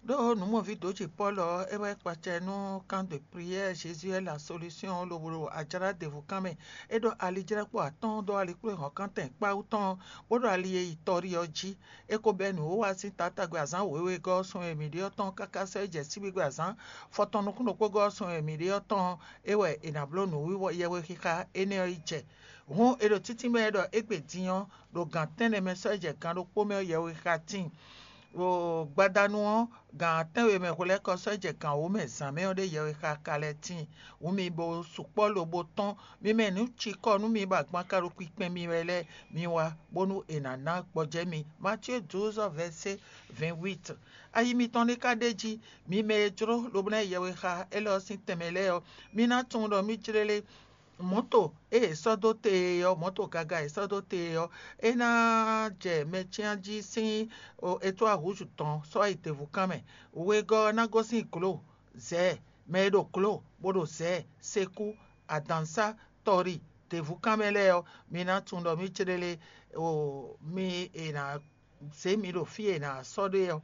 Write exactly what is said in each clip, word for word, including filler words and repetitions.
Ɖó nǔmɔví dǒ ce Pɔ́lu ɔ́, é wɛ kpacɛ nú camp de prière Jésus est la solution lobo ɖo ajlá ɖěvo kan mɛ. É ɖó alijlɛ́kpo atɔ́ɔ́n dó alikpléhɔ̌nkántɛn kpáwú tɔn, bó ɖo ali e yi tɔ́rí ɔ́ jí. É ko bɛ́ nǔwiwa sín taátagbe azǎn wěwegɔ́ ɔ́ sun e mǐ ɖe ɔ́ tɔn káká sɔ́ yi jɛ síbígbe azǎn fɔtɔn nukúnnukpógɔ́ ɔ́ sun e mǐ ɖe ɔ́ tɔn ɔ́, é wɛ è nǎ bló nǔwiwa yɛhwexixa énɛ́ ɔ́ yi jɛ. Hǔn è ɖo títínmɛ wɛ ɖɔ égbé din ɔ́, ɖo gǎn tɛ́nnɛ mɛ sɔ́ yi jɛ gan ɖokpó mɛ ɔ́, yɛhwexixa tíin. Ɖo gbadanu ɔ́, gan tɛ́nwe mɛ hwelɛ́kɔ sɔ́ yi jɛ gan wǒ mɛ zǎn mɛ ɔ́ ɖé yɛhwexixa ka lɛ́ tíin. Hǔn mi bo sukpɔ́ lobo tɔ́n, mi mɛ nǔ cikɔ nú mi bɔ agban ka ɖo kpinkpɛn mi wɛ lɛ́ɛ, mi wá, bónú è nǎ ná gbɔjɛ́ mi. Matíe douze vɛ̌sé vingt-huit. Ayi mitɔn ní ka ɖ'é jí, mi mɛ e jló lobo ná yi yɛhwexa élɔ́ ɔ́ sín tɛnmɛ lɛ́ɛ ɔ́, mi ná tunwun ɖɔ mí jlélé. Mɔ̌to e è sɔ́ dó te e ɔ́, mɔ̌to gaga e è sɔ́ dó te e ɔ́, é ná jɛ mɛcyán jí sín etwá hǔzú tɔn sɔ́ yi děvúkan mɛ. Wegɔ́ ɔ́ ná gosín glo, zɛ̌, mɛ e ɖo glo, bó ɖo zɛ̌, sekú, adǎnsá, tɔri, děvúkan mɛ lɛ́ɛ ɔ́, mi ná tunwun ɖɔ mí céɖélé o mi è nǎ zě mi ɖo fí e è nǎ sɔ́ ɖe ɔ́,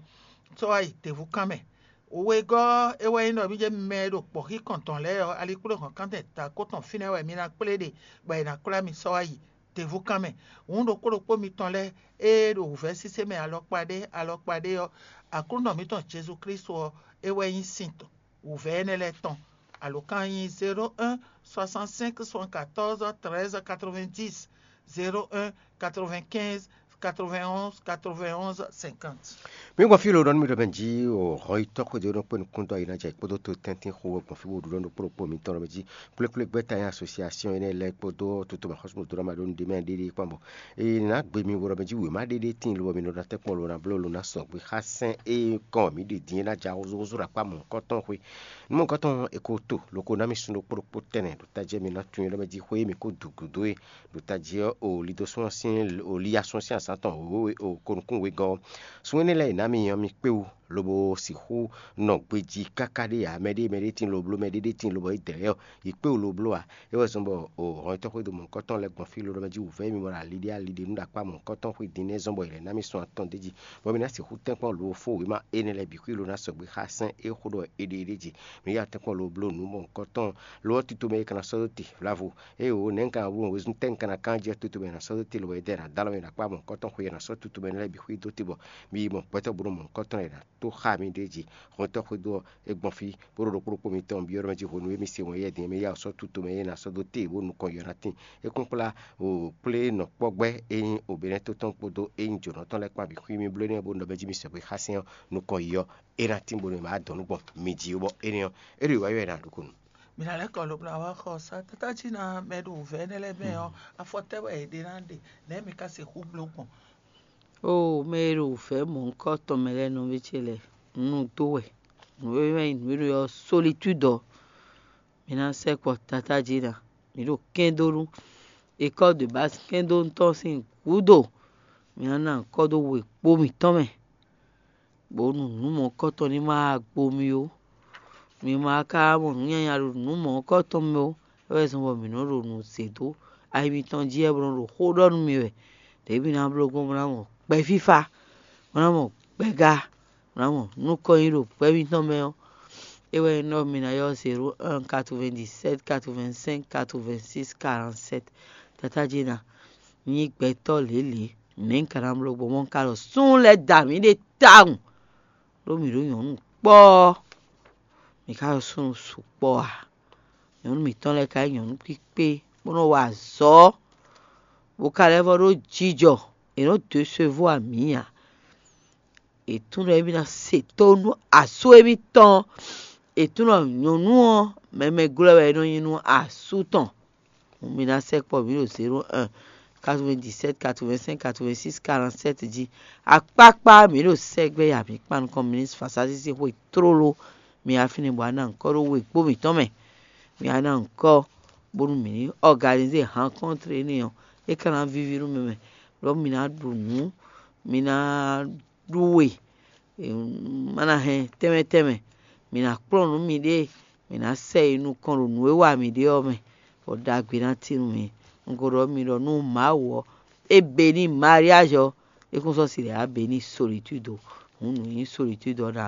sɔ́ wá yi děvúkan mɛ. Wegɔ́ ɔ́, é wɛ nyí ɖɔ mí jɛ mɛ e ɖo kpɔ̌xí kɔntɔn lɛ́ɛ ɔ́, alikpléhɔ̌nkántɛn ta kó tɔn fínɛ́ wɛ mi ná kplé ɖe, bɔ è nǎ kplá mi sɔ́ wá yi děvúkan mɛ. Hǔn ɖokpó ɖokpó mitɔn lɛ́ɛ e ɖo wǔvɛ́ sésé mɛ alɔkpa ɖé alɔkpa ɖé ɔ́, Aklúnɔ mǐtɔn Jezu Klísu ɔ́, é wɛ nyí sin tɔn wǔvɛ́ énɛ́ lɛ́ɛ tɔn. Alǒkan nyí zéro un soixante-cinq soixante-quatorze treize quatre-vingt-dix, zéro un quatre-vingt-quinze quatre-vingt-onze quatre-vingt-onze cinquante. Mi gbɔn fí lo ɖɔ nú mi ɖɔ mɛ jí o hɔn yi tɔ́ xwedó nɔ kpé nukúndɔ yi ná jɛ kpódó to tɛ́ntin xo wɛ gbɔn fí bó ɖu ɖɔ nukpó ɖokpó mitɔn ɖɔ mɛ jí kplékplé gbɛ́ta nyí asosiasiɔn énɛ́ lɛ́ɛ kpódó toto mɛ xɔ́súmɔdó ná ma ɖó nu ɖé mɛ ɖéɖé kpán bɔ è nǎ gbe mi wɔ ɖɔ mɛ jí wěma ɖéɖé tíin lo bɔ mi nɔ ná tɛ́ kpɔ́n lo ná bló lo ná sɔgbe xá sɛn e kɔn mǐ ɖe din é ná ja húzúhúzú ɖo akpá mɔ̌hunkɔtɔn xwé. Nú mɔ̌hunkɔtɔn è ko to lo ko ná mi sun ɖokpó ɖokpó tɛnɛ ɖo tají mɛ ná tunwun ɖɔ mɛ jí xwé e mi ko dǔ gǔdo é ɖo tají ɔ́ o lido sún ɔ́ sín o li asún sín azǎn tɔn wěwé o ko nukún wegɔ́ ɔ́. Sun énɛ́ lɛ́ɛ è nǎ mi ɔ́ mi kpé wú lobo sixú nɔ gbejí káká ɖé ǎ. Mɛɖé mɛɖé tíin lo bló mɛɖé ɖé tíin lobɔ é dɛ̌ ɔ́ yi kpé wú lo bló ǎ. É wɛ zɔ́n bɔ o hɔnyitɔ́ xwédo mɔ̌hunkɔtɔn lɛ́ɛ gbɔn fí lo ɖɔ mɛ jí wǔvɛ́ mi mɔ ɖo ali ɖé ali ɖé nú ɖo akpá mɔ̌hunkɔtɔn xwé din nɛ́ zɔ́n bɔ è lɛ̌ ná mi sun atɔn d'é jí, bɔ mi ná sixú tɛ́nkpɔ́n lo fó wěma énɛ́ lɛ́ɛ bǐ xwí lo ná sɔgbe xá sɛn é xó ɖɔ è ɖe é ɖé jí. Mi yá tɛ́nkpɔ́n lo bló nǔ mɔ̌hunkɔtɔn lo ɔ́ tito mɛ é ka ná sɔ́ dó te vlavo. Ée wǒ nɛ̌ un ka ná bló wězun tɛ́ un ka ná kán jɛ toto mɛ è nǎ sɔ́ dó te lobɔ è dɛ è nǎ dó alɔ mɛ è nǎ kpá mɔ̌hunkɔtɔn xwé è nǎ sɔ́ toto mɛ lɛ́ɛ bǐ xwí dó te bɔ mi yi mɔ gbɛtɔ́ bó nɔ mɔ̌hunkɔtɔn è nǎ tó xá mi ɖ'é jí. Hɔntɔ́ xwedó ɔ́, é gbɔn fí bó ɖo ɖokpó ɖokpó mitɔn byɔ́ ɖɔ mɛ jí hwenu e mì se wɛn yɛ din é mɛ yá wǔ sɔ́ tutu mɛ é ná sɔ́ dó te bó nukɔn yɔ ná tín. É kún kplá wǒ kplé nɔkpɔ́gbɛ́ e nyí obɛ́nɛ́ tɔn kpódó e nyí jǒnɔ tɔn lɛ́ɛ kpán bǐ xwí mì bló énɛ́ bó nɔ mɛ jí mì sɛgbě xá sɛn ɔ́ nukɔn yi ɔ́, é ná tín bónú è má dɔn nú gbɔn mi jí bɔ énɛ́ ɔ́, é ɖo wǎ yɔ ɛ ná ɖokúnu. Mǐ ná lɛ́ kɔ lobo ná wá xɔ sá. Tátájí ná mɛ ɖo wǔvɛ́ énɛ́ lɛ́ɛ mɛ ɔ́, afɔ tɛ́ wɛ è ɖe ná ɖe, nɛ̌ mi ka sixú bló gbɔn? Oo, mɛ e ɖo wǔvɛ́ mɔ̌hunkɔtɔn mɛ lɛ́ɛ nɔví ce lɛ́ɛ, un nu dó wɛ. Nǔ e wɛ nyí nǔ e ɖo ɔ́, solitude ɔ́, mi ná sɛkpɔ tatájí ná. Mi ɖo kɛ́n dó nú école de base kɛ́n dó ntɔ́ sín gǔdo. Mi ná ná kɔ́ dó we kpó mǐtɔn mɛ, bónú nǔ mɔ̌hunkɔtɔn ní ma gbo mi ó. Mi ma ka mɔ nǔ nyanya ɖo nǔ mɔ̌hunkɔtɔn mɛ ó. É wɛ zɔ́n bɔ mǐ nɔ ɖo nǔ zě dó ayi mitɔn jí wɛ bó nɔ ɖo xó ɖɔ nú mi wɛ. Ɖěbǔ ná bló gbɔn bó ná mɔ gbɛ fífá, bó ná mɔ gbɛga, bó ná mɔ nukɔn nyi ɖo gbɛ mitɔn mɛ ɔ́. É wɛ nyí ɖɔ mi ná ylɔ́ zéro un quatre-vingt-dix-sept quatre-vingt-cinq quatre-vingt-six quarante-sept. Tatájí ná nyí gbɛtɔ́ lělě, nɛ̌ un ka ná bló gbɔn bɔ un ka ɖɔ súnnu lɛ́ɛ da mǐ ɖe tawun, ɖó mǐ ɖó nyɔ̌nu kpɔ́ɔ́. Mǐ ka ɖo súnnu sukpɔ́ ǎ. Nyɔ̌nu mǐtɔn lɛ́ɛ ka nyí nyɔ̌nu kpíkpé, bó nɔ wa azɔ̌, bó ka lɛ́ vɔ ɖó jijɔ. È nɔ dó sóvo amǐ ǎ. È tunwun ɖɔ émí ná se tónú asú émítɔn. È tunwun ɖɔ nyɔ̌nu ɔ́, mɛmɛ glɔ́ wɛ é nɔ nyí nú asú tɔn. Mi ná sɛkpɔ́ mǐ ɖo zéro un quatre-vingt-dix-sept quatre-vingt-cinq quatre-vingt-six quarante-sept jí. Akpákpá mǐ ɖo sɛgbɛ ya mǐ kpan nukɔn ministre Fasasi sín xwe tlóló. Mi afínɛ bɔ a ná nyǐkɔ ɖó we kpó mǐtɔn mɛ. Mi a ná nyǐkɔ bónú mǐ ní organiser rencontre énɛ́ ɔ́, é ka ná víví nú mi mɛ. Ɖɔ mi ná ɖu nǔ, mi ná ɖu we, má ná hɛn tɛnmɛ tɛnmɛ. Mi ná kplɔ́n nǔ miɖée, mi ná sɛ yi nukɔn ɖo nǔ e wa mi ɖe ɔ́ mɛ, bɔ ɖagbe ná tín nú mi. Un ko ɖɔ mi ɖɔ nú Mawu ɔ́, é be ní mariage ɔ́, é kún sɔ́ si ɖě á be ní solitude o. Hǔn nǔ nyí solitude ɔ́ ná